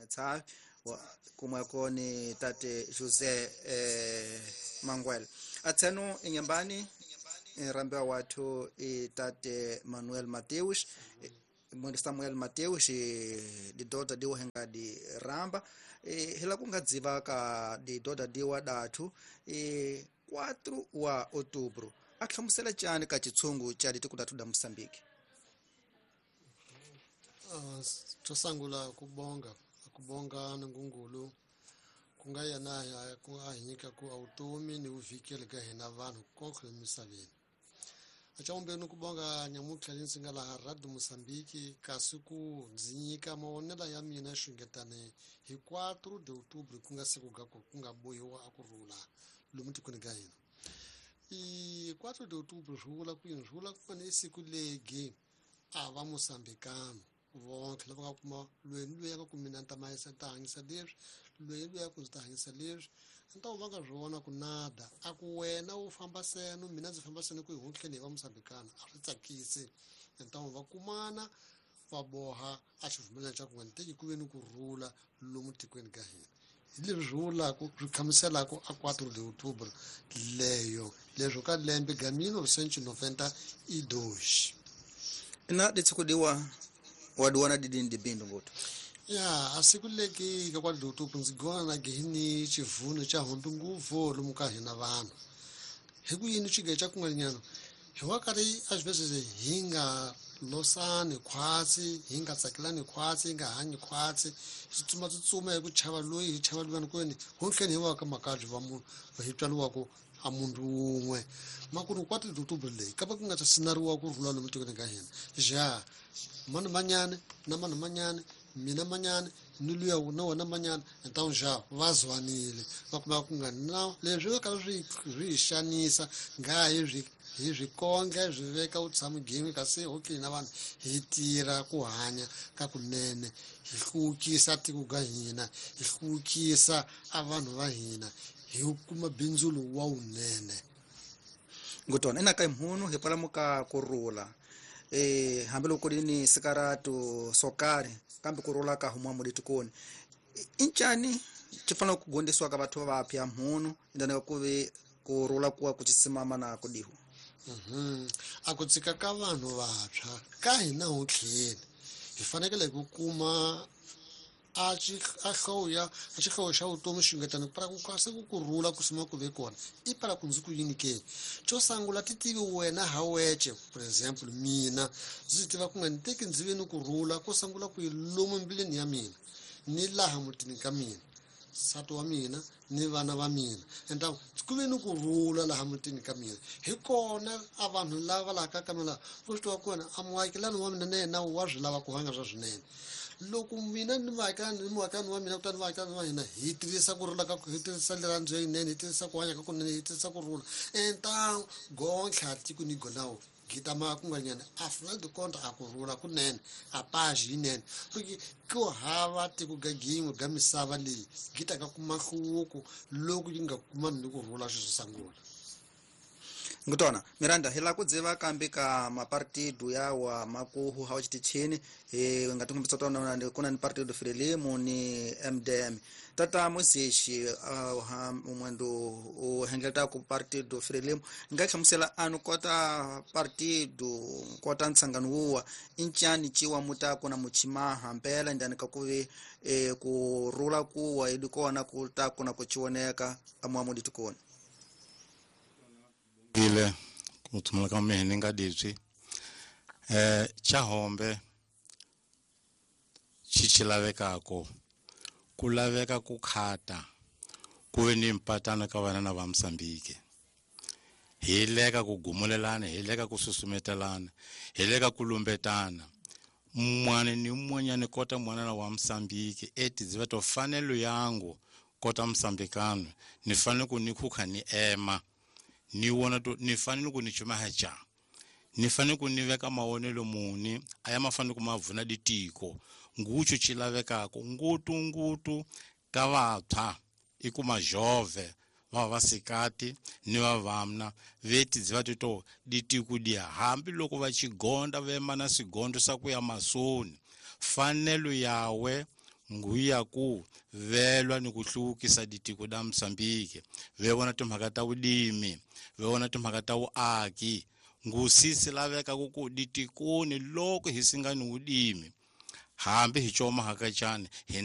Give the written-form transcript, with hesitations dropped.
Tshavi kumweko ni tate José Manguel. Atseno inyambani rambiwa wathu i tate Manuel Mateus, Samuel Mateus didoda diwa henga di ramba hila kunga dziva ka didoda diwa dathu 4 wa outubro ahlamusela chani ka chitsungu cha ditiko dathu da Moçambique. Tosangula kubonga ngungulu kunga yena ya ku ahinyika ku automi ni uvikele ka hina vanhu konke emisaveni. Achaombeni kubonga nyamutlha ndzi nga laha Radio Moçambique kasi ku ndzi nyika mavonelo ya mina xungetane hi 4 de outubro ku nga siku ga ku nga bohiwa a ku rhula lomu tikweni ka hina. I 4 de outubro swi vula ku yini? Swi vula ku ni siku legi a va Moçambicano vonke lava nga kuma loyi ni loyi a nga ku mina ni ta mahisa ni ta hanyisa leswi, loyi ni loyi a ku ndzi ta hanyisa leswi, ni ta va nga swi vona ku nada a ku wena u famba seno mina ndzi famba seno ku hi huntleni hi va Moçambicano a swi tsakisi. Ni ta va kumana va boha a xivumelana xa ku nga ni teki ku ve ni ku rhula lomu tikweni ka hina. Hi leswi swi vulaka swi hlamuselaka a 4 de outubro leyo leswo ka lembe ga 1992. Na ditsikudiwa wadiwana didini dibindu ngoto. Ya a siku leki ka 4 de outubro ndzi gona na gihini xivuno xa hombe nguvu lomu ka hina vanhu. Hi ku yini xige xa kun'wanyana hi wa karhi a swi hi nga losani khwatsi, hi nga tsakelani khwatsi, hi nga hanyi khwatsi, hi tsutsuma hi ku chava loyi hi chava luyani kwini honhleni hi wa ka makabyi va munhu hi tswariwaka a munhu wun'we. Makunu 4 de outubro leyi ka va ku nga ta sinariwa ku rhula lomu tikweni ka hina. Ja mani manyane na mani manyane mina manyane ni luya na wena manyane ta ja va zwanile va kuma ku nga na leswi ka swi swi xanisa nga hi swi hi swi konge swi veka u tshama gimi kasi okay na vanhu hi tirha ku hanya ka kunene hi hluvukisa tiko ga hina hi hluvukisa a vanhu va hina hi kuma bindzu wa wunene. Ngutona ina ka mhunu hi palamuka ku rhula hambiloko ku ni sikaratu sokari kambe ku rhula ka huma mulitikoni incani xi fanele ku gondisiwa ka batho va vapya mhunu indana ku ve ku rhula kuwa ku chisimama na ku dihu. A ku tsika ka vanhu vantshwa ka hina hontlheni hi fanekele ku kuma a xihlovo xa vutomi xungetana para ku kasi ku rhula ku sima ku ve kona i para ku ndzi ku yini ke xo sungula ti tivi wena ha weche. For example mina ndzi tiva ku nga ni teki ndzi ve ni ku rhula ko sungula ku yi lomu mbilwini ya mina ni laha mutini ka mina nsati wa mina ni vana va mina enta ku ve ni ku rhula laha mutini ka mina hi kona a vanhu lava laha ka mina vo swi tiva kona a muakelani wa mina na yena wa swi lava ku hanya swa swinene. Loko mina ni muakelani ni muakelani wa mina kutani vaakelani va hina hi tirhisa ku rhula ka hi tirhisa rirhandzu yinene hi tirhisa ku hanya ka kunene hi tirhisa ku rhula enta gontlha tiko ni gonawo gita ma kun'wanyana a final de compte a ku rhula kunene a page yinene porque ku hava tiko ga gin'we ga misava leyi gita ka kuma nhluvuko loko yi nga kumani ni ku rhula swi sungula. Ngutona Miranda hi la ku dziva kambe ka mapartido yawa makuhu hawa chitichini hi nga tikumbisa tona kuna ni partido Frelimo ni MDM. Tata Muzishi umwendo u hengeleta ku partido Frelimo nga hlamusela anu kota partido kota ntsangano wuwa incani chiwa mutako na muchimaha mpela ndani ka kuve ku rula kuwa idikona ku tako na kuchioneka amwamu ditukoni. Ile ku thumela ka mina nga ditswi chahombe chichilavekako ku laveka ku khata ku ve ni mpatano ka vana na va Mozambique hi leka ku gumulelana hi leka ku susumetelana hi leka ku lumbetana mwana ni mwanyana kota mwana wa Mozambique eti ziva to fanelo yangu kota Mozambicano ni fanele ku ni khukha ni ema ni wona to ni fanele ku ni chumaha cha ni fanele ku ni veka mawonelo muni aya mafanele ku mavuna ditiko nguchu chilavekako ngutu ngutu ka vantshwa i ku majove va vasikati ni vavamna veti dziva tito ditiko dia hambi loko va chigonda vema na sigondo sa ku ya masoni fanelo yawe Nguya ku velwa ni ku hluvukisa ditiko da Mozambique, ve vona timhaka ta vulimi, ve vona timhaka ta vuaki. Ngusisi laveka ku ditikoni loko hi singa ni vulimi, hambi hi coma hakachani hi.